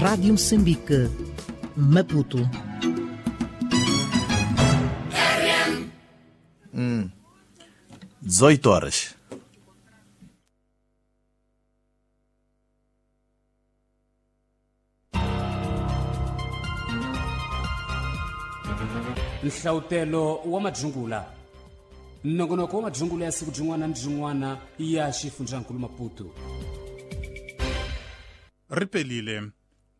Rádio Moçambique, Maputo. 18 horas. Nhlawutelo wa madzungula nongonoko wa madzungula ya siku byin'wana ni byin'wana ya xifundzankulu Maputo. Ri pelile.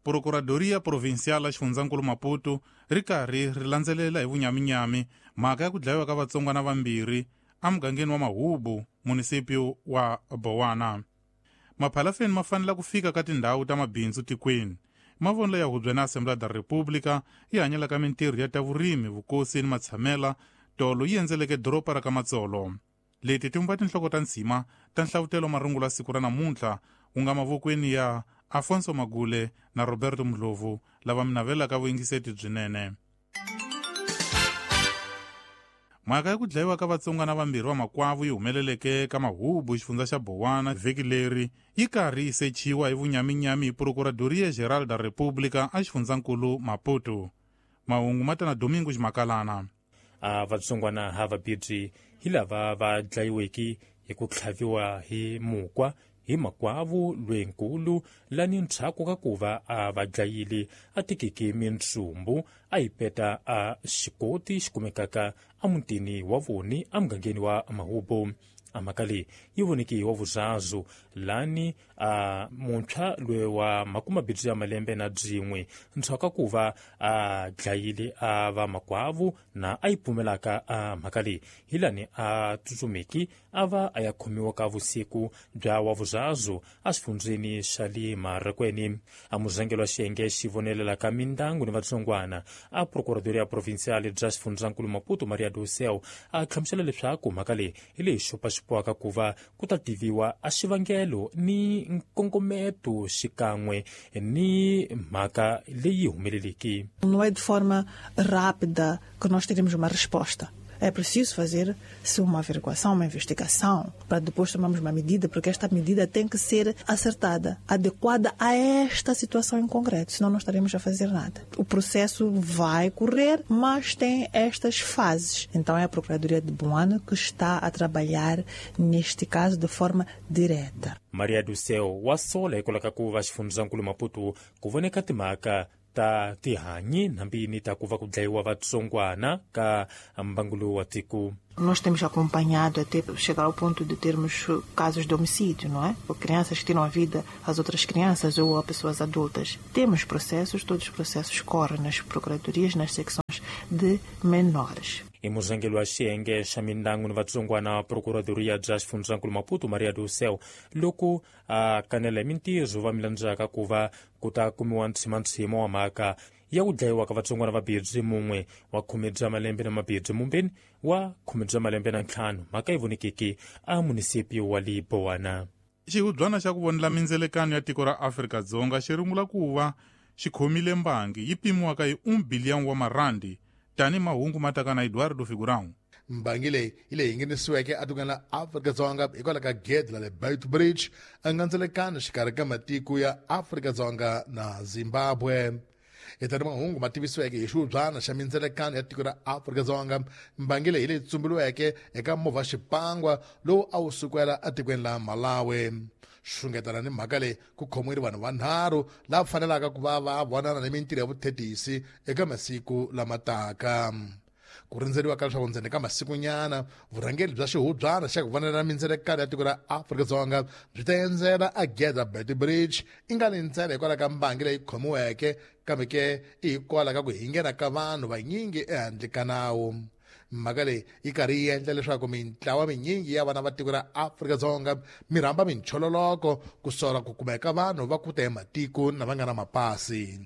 Procuradoria Provincial ya xifundzankulu Maputo ri karhi ri landzelela hi vunyaminyami mhaka ya ku dlayiwa ka vatsongwana vambirhi emugangeni wa Mahubu, munisipyu wa Bowana. Maphalafeni ma fanele ku fika ka tindhawu ta mabindzu tikweni. Mavonelo ya hubyeni na Assembleia da República yi hanyelaka mintirho ya ta vurimi, vukosi ni matshamela tolo yi endzeleke doroba ra ka Matsolo. Leti ti vumba tinhloko ta ntshima ta nhlavutelo marungulo ya siku ra namuntlha wu nga mavokweni ya Afonso Magule na Roberto Mdlovu lava mi navelaka vuyingiseti byinene. Mhaka ya ku dlayiwa ka vatsongwana vambirhi va makwavu yi humeleleke ka Mahubu, xifundza xa Bowana vhiki leri yi karhi yi sechiwa hi vunyaminyami hi Procuradoria Geral da República a xifundzankulu Maputo. Mahungu ma ta na Domingo Ximakalana. A vatsongwana ha vabirhi hi lava va dlayiweke hi ku tlhaviwa hi mukwa hi makwavu lwenkulu lani ndzhaku ka ku va a va dlayile a tekeke mintsumbu a yi peta a xikoti xi kumekaka emutini wa voni emugangeni wa Mahubu. A mhaka leyi yi voneke wa vuzazu lani a muntshwa loyi wa makumabirhi ya malembe na byin'we ndzhaku ka ku va a dlayile a va makwavu na a yi pfumelaka a mhaka leyi hi lani a tsutsumeki a va a ya khomiwa ka vusiku bya wa vuzazu exifundzeni xa le Marekweni. A muzangelo wa xiyenge xi vonelelaka mindyangu ni vatsongwana a Procuradoria Provincial bya xifundzankulu Maputo Maria do Céu a hlamusela leswaku mhaka leyi hi leyi xopaxopiwaka ku va ku ta tiviwa a xivangelo ni nkongometo xikan'we ni mhaka leyi humeleleke. Não é de forma rápida que nós teremos uma resposta. É preciso fazer-se uma averiguação, uma investigação, para depois tomarmos uma medida, porque esta medida tem que ser acertada, adequada a esta situação em concreto, senão não estaremos a fazer nada. O processo vai correr, mas tem estas fases. Então é a Procuradoria de Boana que está a trabalhar neste caso de forma direta. Maria do Céu wa sola hikwalaho ka ku va xifundzankulu Maputo ku voneka timhaka ta tihanyi hambi ta ku va ku dlayiwa vatsongwana ka mbangu lowu wa tiko. Nós temos acompanhado até chegar ao ponto de termos casos de homicídio, não é? Ou crianças que tiram a vida às outras crianças ou a pessoas adultas. Temos processos, todos os processos correm nas procuradorias, nas secções de menores. I muzangeli wa xiyenge xa mindyangu ni vatsongwana Procuradoria bya xifundzankulu Maputo Maria do Céu loko a kanela hi mintirho va milandzaka ku va ku ta kumiwa ntshimantshima wa mhaka ya ku dlayiwa ka vatsongwana vabirhi mun'we wa khume bya malembe na mabirhi mumbeni wa khume bya malembe na ntlhanu mhaka yi vonekeke a munisipi wa le Bowana. Xihubyana xa ku vonela mindzelekano ya tiko ra Afrika-Dzonga xi rungula ku va xi khomile mbangi yi pimiwaka hi 1 billion wa marandi tani mahungu ma taka na Eduardo Figurão. Mbangi leyi hi leyi nghenisiweke etikweni la Afrika-Dzonga hikwalaho ka gede la le Beitbridge engandzelekano xikarhi ka matiko ya Afrika-Dzonga na Zimbabwe. Hi tani mahungu ma tivisiweke hi xihubyana xa mindzelekano ya tiko ra Afrika-Dzonga, mbangi leyi hi leyi tsumbiliweke eka movha xipangwa lowu a wu sukela etikweni la Malawi. Xungetana ni mhaka leyi ku khomiwile vanhu vanharhu lava fanelaka ku va va vonana ni mintirho ya vuthethisi eka masiku lama taka. Ku rindzeriwa ka leswaku ndzeni ka masikunyana vurhangeri bya xihubyana xa ku vonela mindzelekano ya tiko ra Afrika-Dzonga byi ta endzela ageda Beitbridge i nga ni ntsena hikwalaho ka mbangi leyi khomiweke kambe ke i hikwalaho ka ku hingena ka vanhu vanyingi ehandle ka nawu. Mhaka leyi yi karhi yi endla leswaku mintlawa minyingi ya vana va tiko ra Afrika-Dzonga mi rhamba minchololoko ku sola ku kumeka vanhu va ku ta ematiko na va nga na mapasi.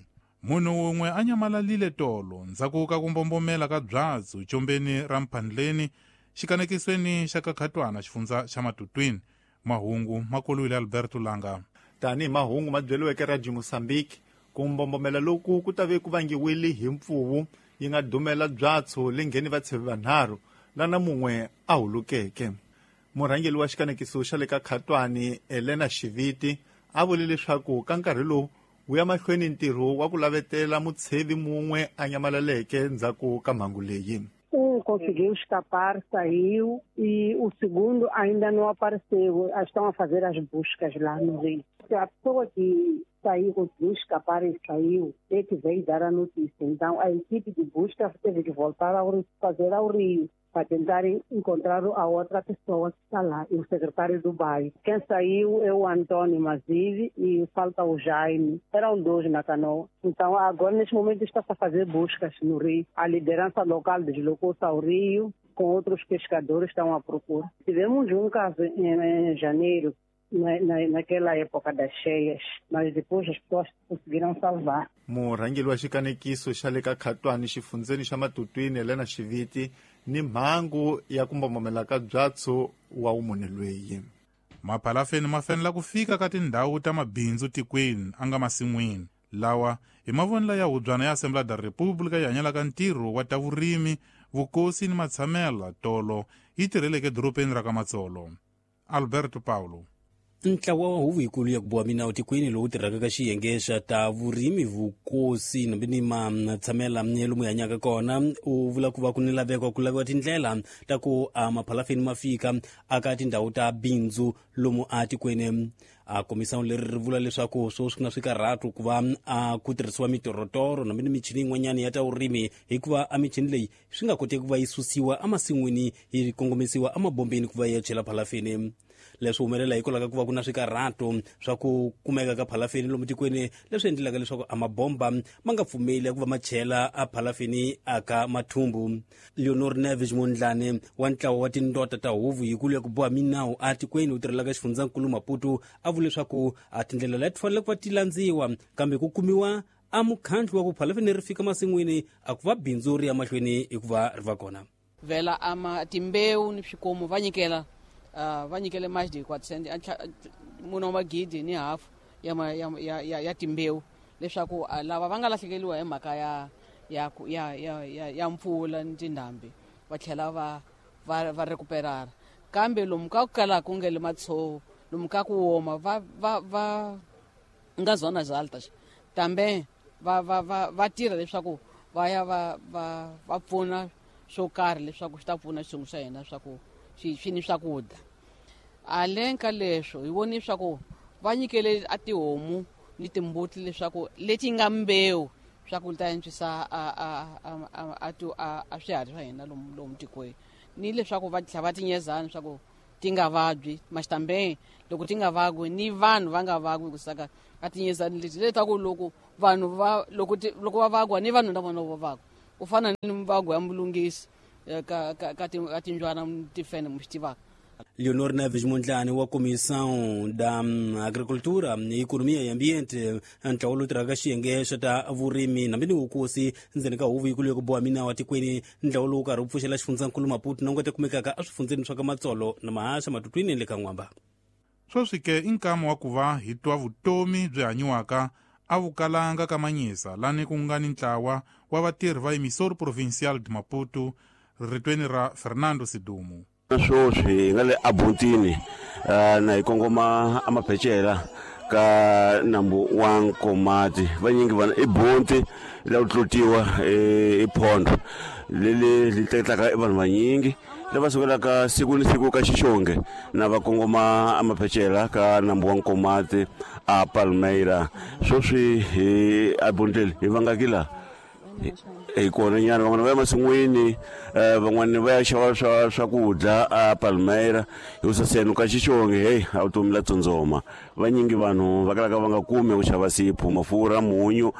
Munhu wun'we a nyamalalile tolo ndzhaku ka ku mbombomela ka byatsu chombeni ra Mphandleni xikanekisweni xa Kakhatwana xifundza xa Matutwini. Mahungu ma koliwile Alberto Langa. Tanihi mahungu ma byeliweke Radio Mozambique, ku mbombomela loku ku ta ve ku vangiwile hi mpfuvu yi nga dumela byatso le ngheni vatshevi vanharhu lana mun'we a hulukeke. Murhangeri wa xikanekiso xa le ka Khatwani Elena Xiviti a vule leswaku ka nkarhi lowu Wu ya mahlweni ntirho wa ku lavetela mutshevi mun'we a nyamalaleke ndzhaku ka mhangu leyi. Conseguiu escapar, saiu, e o segundo ainda não apareceu. Estão a fazer as buscas lá no rio. A pessoa que saiu, conseguiu escapar e saiu, é que veio dar a notícia. Então, a equipe de busca teve que voltar a fazer ao rio para tentar encontrar a outra pessoa que está lá, e o secretário do bairro. Quem saiu é o Antônio Mazive e falta o Jaime. Eram dois na canoa. Então, agora, neste momento, está-se a fazer buscas no rio. A liderança local deslocou-se ao rio, com outros pescadores estão à procura. Tivemos um caso em janeiro, naquela época das cheias, mas depois as pessoas conseguiram salvar. Murhangeri wa xikanekiso xa le ka Khatwani xifundzeni xa Matutwini Helena Xiviti ni mhangu ya ku mbombomela ka byatso wa wumune lweyi. Maphalafeni ma fanele ku fika ka tindhawu ta mabindzu tikweni a nga masin'wini lawa hi mavonelo ya hubyana ya Assembly da República yi hanyelaka ntirho wa ta vurimi, vukosi ni matshamela tolo yi tirheleke edorobeni ra ka Matsolo. Alberto Paulo. Ntlawa wa huvo yikulu ya ku boha minawu tikweni lowu tirhaka ka xiyenge xa ta vurimi, vukosi nambi ni matshamela lomu hi hanyaka kona u vula ku va ku ni laveko ku laviwa tindlela ta ku a maphalafeni ma fika aka tindhawu ta bindzu lomu a tikweni. A komisawu leri ri vula leswaku sweswi ku na swikarhatu ku va a ku tirhisiwa mitorotoro nambi ni michini yin'wanyana ya ta vurimi, hikuva a michini leyi swi nga koteki ku va yi susiwa emasin'wini yi kongomisiwa emabombeni ku va yi ya chela phalafeni. Leswi humelela hikwalaho ka ku va ku na swikarhato swa ku kumeka ka phalafeni lomu tikweni, leswi endlelaka leswaku a mabomba ma nga pfumeli ku va ma chela a phalafeni aka mathumbu. Leonor Neves Mondlane wa ntlawa wa tindota ta huvo yikulu ya ku boha minawu a tikweni wu tirhelaka xifundzankulu Maputo a vula leswaku a tindlela leti fanele ku va ti landziwa, kambe ku kumiwa a mukhandlu wa ku phalafeni ri fika masin'wini a ku va bindzu ri ya mahlweni hikuva ri va kona. Vela ama timbewu ni swikomu va nyikela va nyikele mais de 400 mune magidi ni hafu ya timbewu leswaku lava va nga lahlekeriwa hi mhaka ya mpfula ni tindhambi va tlhela va recuperara. Kambe lomu ka ku kala ku nge le matshovo, lomu ka ku woma va nga zona altas também va tirha leswaku va ya va pfuna swo karhi leswaku swi ta pfuna xitsongo xa hina swa ku swi ni swakudya. Aleng ka leswo hi voni swa ku va nyikele a tihomu ni timbuti leswaku leti nga mbewu swa ku ta antswisa a swiharhi swa hina lomu tikweni, ni leswaku va tlhela va tinyezana swa ku ti nga vabyi maxitambe loko ti nga vagwi ni vanhu va nga vagwi kusaka a tinyezani leti letaku loko vanhu va loko va vagwa ni vanhu na vona va vagwa ku fana ni mvagwa ya mulungisi ka tinjwana tifene mi swi tivaka. Leonor Neves Mondlane wa Comissão da Agricultura, Economia e Ambiente, ntlawa lowu tirhaka xiyenge xa ta vurimi nambi ni vukosi ndzeni ka huvo yikulu ya ku boha minawu tikweni, ntlawa lowu karhi wu pfuxela xifundzankulu Maputo na nga kumekaka eswifundzeni swa ka Matsolo na Mahaxa, Matutwini le ka N'wamba. Sweswi ke i nkama wa ku va hi twa vutomi byi hanyiwaka a vukalanga ka Manyisa lani ku nga ni ntlawa wa vatirhi va Emissor Provincial de Maputo, ritweni ra Fernando Sidumo. Sweswi hi nga le abuntini na hi kongoma amaphecela ka nambu wa Nkomati. Vanyingi vana i bunti la ku tlutiwa i phondo leli li tletlaka i vanhu vanyingi lava sukelaka siku ni siku ka Xixonge na va kongoma amaphecela ka nambu wa Nkomati a Palmeira. Sweswi hi abunteli hi vangaki la hi kona nyana, van'wana va ya masin'wini, van'wana va ya xava swakudya a Palmeira hi saseno ka Xixonge. Hey, a vutomi la tsundzoma vanyingi vanhu va kalaka va nga kumi ku xava sipho, mafurha, munyu,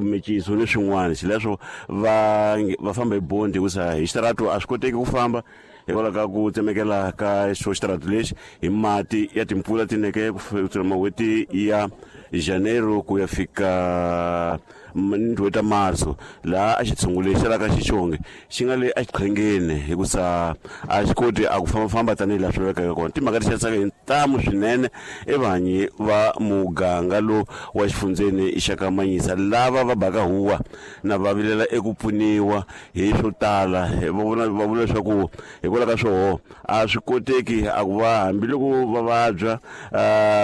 miciso ni swin'wana. Xileswo va famba hi bondi hikusa hi xitarato a swi koteki ku famba hikwalaho ka ku tsemekela ka xo xitarato lexi hi mati ya timpfula tineke ku fikela mawheti ya Janeiro ku ya fika n'hweti ta Marso, laha a xitshungu lexi la ka Xixonge xi nga le exiqhengeni hikusa a xi koti a ku fambafamba tanihi laha swi lavekaka kona. Timhaka ti xanisaka hi ntamu swinene evanyi va muganga lowu wa xifundzeni xa ka Manyisa lava va baka huwa na va vilela eku pfuniwa hi swo tala. Va vula leswaku hikwalaho ka swoho a swi koteki a ku va hambiloko va vabya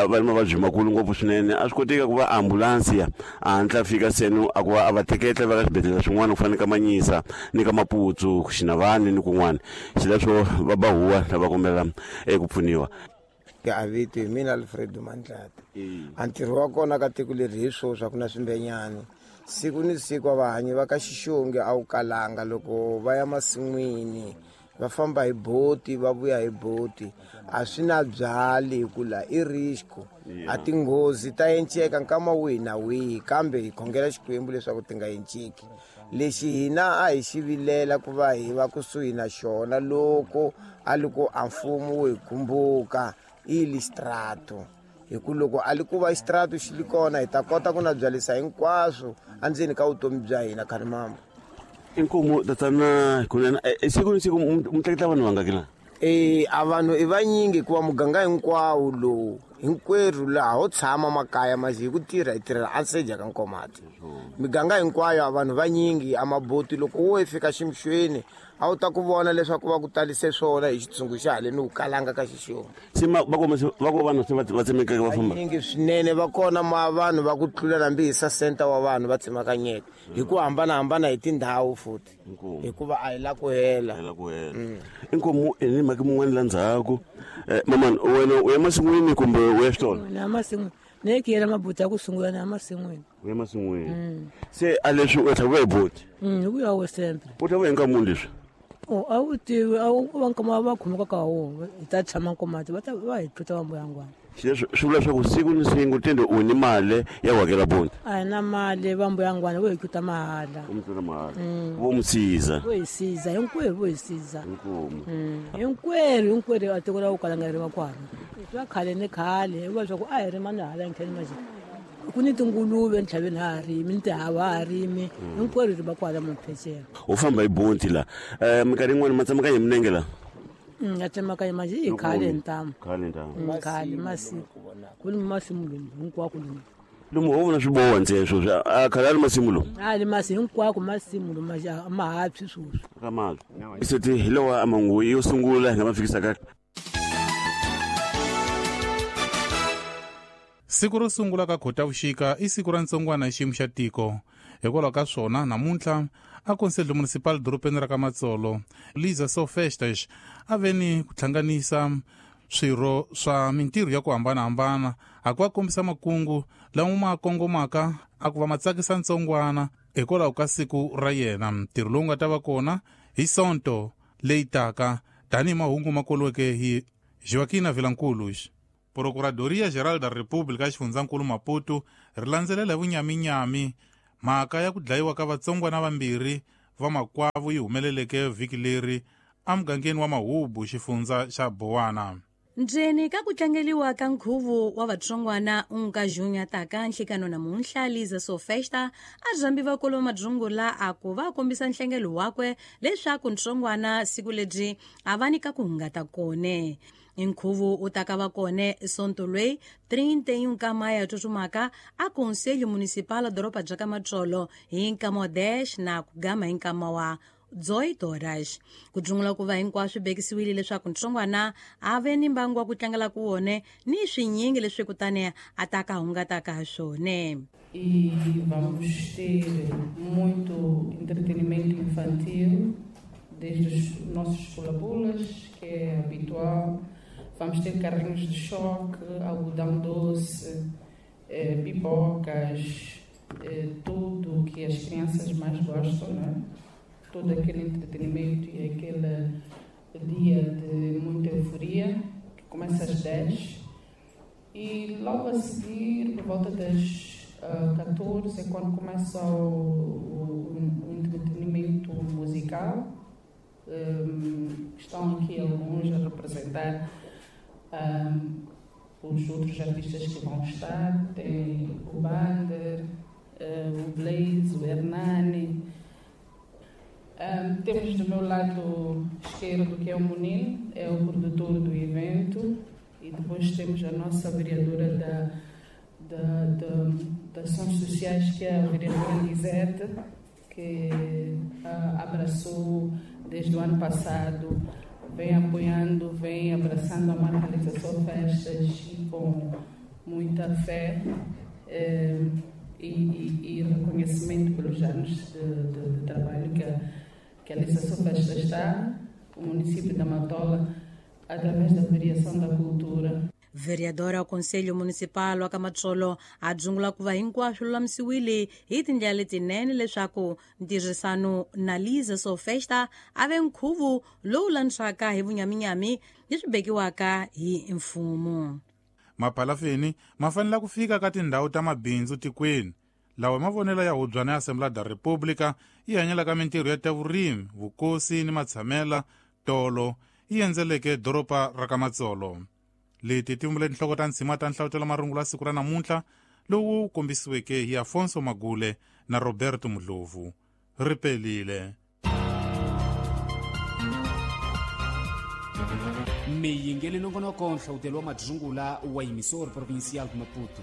va ni mavabyi makulu ngopfu swinene, a swi koteki ku va ambulansi a hatla fika seno a ku va a va teketla va ka swibedhlele swin'wana ku fana ni ka Manyisa ni ka Maputsu, Xinavani ni kun'wana. Xileswo va ba huwa na va kombela eku pfuniwa. A vito hi mina Alfredo Mandlati. A ntirho wa kona ka tiko leri hi swoswi a ku na swimbenyani. Siku ni siku a vahanyi va ka Xixonge a wu kalanga loko va ya masin'wini va famba hi boti va vuya hi boti, a swi na byali hi ku la i risco. A tinghozi ta enceka nkama wihi na wihi, kambe hi khongela Xikwembu leswaku ti nga enceki. Lexi hina a hi xi vilela ku va hi va kusuhi na xona loko a li ku a mfumo wu hi kumbuka i listrato, hi ku loko a li ku va xitrato xi li kona hi ta kota ku na byalisa hinkwaswo endzeni ka vutomi bya hina. Khalimambo. Inkomu tatana kunene siku ni siku mi tleketla vanhu vangaki la? A vanhu i vanyingi hikuva muganga hinkwawo lowu hinkwerhu laha ho tshama makaya manje hi ku tirha hi tirhela anseja ka Nkomati. Miganga hinkwayo a vanhu vanyingi a maboti loko wo fika ximxweni a wu ta ku vona leswaku va ku talise swona hi xitshungu xa haleni wu kalanga ka Xixonge. Se va ko vanhu se va tsemekaka va famba vanyingi swinene, va kona ma vanhu va ku tlula nambi hi sa center wa vanhu va tsemakanyeka hi ku hambanahambana hi tindhawu futhi, hikuva a hi la ku hela. Inkomu ni mhaka mun'wana la ndzhaku. Mamani, wena u ya masin'wini kumbe u ya xitolo? Na masin'wini. Ne ki yela mabuti ya ku sungula na masin'wini. U ya masin'wini. Se a leswi u tlhaviwa hi boti? Hi vuya wo sempre. U tlhaviwa hi nkamuni leswi? A wu tivi, a wu va nkama va khomeka ka wona, hi ta tshama Nkomati va ta va hi tluta va mbuyangwana. Xileswi swi vula leswaku siku ni siku tende u ni mali ya ku hakela boti? A hi na mali, va mbuyangwana vo hi tluta mahala. Vo mi tluta mahala. Vo mi siza. Vo hi siza, hinkwerhu vo hi siza. Inkomu. Hinkwerhu a tiko ra ku kalanga ri va kwala. Swa khale ni khale, hikuva leswaku a hi rima ni hala ntlheni manje. Ku ni tinguluve ntlhaveni ha rimi, ni tihava ha rimi, hinkwerhu ri va kwala maphecelo. U famba hi bonti la. Minkarhi yin'wana ma tsemakanya hi milenge la? Ya tsemakanya manje i khale ntamu. Khale ntamu. Khale masiku. Ku ni masimu lomu hinkwako lomu. Lomu ho vona swiboha ntsena sweswi, a khale a ri masimu lomu? A ri masimu hinkwako masimu lomu a ma ha tshwi sweswi. Ka mali. Seti hi lawa a manguva yo sungula hi nga ma fikisaka. Siku ro sungula ka Khotavuxika i siku ra ntsongwana hi xiyimo xa tiko. Hikwalaho ka swona namuntlha a Conselho Municipal dorobeni ra ka Matsolo, Liza Sofestas a ve ni ku hlanganisa swirho swa mintirho ya ku hambanahambana a ku va kombisa makungu lama ma kongomaka a ku va ma tsakisa ntsongwana hikwalaho ka siku ra yena. Ntirho lowu nga ta va kona hi Sonto leyi taka tanihi mahungu ma koliweke hi Joaquina Vilanculos. Procuradoria Geral da República xifundzankulu Maputo ri landzelela vunyaminyami mhaka ya ku dlayiwa ka vatsongwana vambirhi va makwavo yi humeleleke vhiki leri emugangeni wa Mahubu xifundza xa Bowana. Ndzeni ka ku tlangeliwa ka nkhuvo wa vatsongwana unka junya taka nhlikano namuntlha Liza Sofesta a zambi vakulu va madzungula a ku va kombisa nhlengelo wakwe leswaku ntsongwana siku lebyi a va nyika ku hungata kone. Nkhuvo u ta ka va kone Sonto lweyi 31 ka maya tsutsumaka a Conselho Municipal doroba bya ka Matsolo hi nkama wa 10 na ku gama hi nkama wa 18 horas. Ku dzungula ku va hinkwaswo bekisiwile leswaku ntsongwana a ve ni mbangu wa ku tlangela ku wone ni swinyingi leswi kutani a ta ka hungataka ha swona. E vamos ter muito entretenimento infantil, desde os nossos pula-pulas, que é habitual. Vamos ter carrinhos de choque, algodão doce, pipocas, tudo o que as crianças mais gostam, não é? Todo aquele entretenimento e aquele dia de muita euforia, que começa às 10. E logo a seguir, por volta das 14, é quando começa o entretenimento musical. Estão aqui alguns a representar os outros artistas que vão estar. Tem o Bander, o Blaze, o Hernani. Temos do meu lado esquerdo, que é o Munil, é o produtor do evento E depois temos a nossa vereadora da Ações Sociais, que é a vereadora Lisete, que abraçou desde o ano passado, vem apoiando, vem abraçando a marca Liza Só Festas e com muita fé e reconhecimento pelos anos de trabalho que a Liza Só Festas está, o município da Matola, através da variação da cultura. Vereadora wa Conselho Municipal wa ka Matsolo a dzungula ku va hinkwaswo lulamisiwile hi tindlela letinene leswaku ntirhisano na Liza Só Festa a ve nkhuvo lowu landzaka hi vunyaminyami leswi bekiwaka hi mfumo. Maphalafeni ma fanele ku fika ka tindhawu ta mabindzu tikweni lawa mavonelo ya hubyana ya Assembly da República yi hanyelaka mintirho ya ta vurimi, vukosi ni matshamela tolo yi endzeleke doroba ra ka Matsolo. Leti ti vumbile tinhloko ta ntshima ta nhlavutelo marungula siku ra namuntlha lowu kombisiweke hi Afonso Magule na Roberto Mudlovu. Ri pelile. Miyingeli nongonoko nhlavutelo wa madzungula wa Emissor Provincial de Maputo.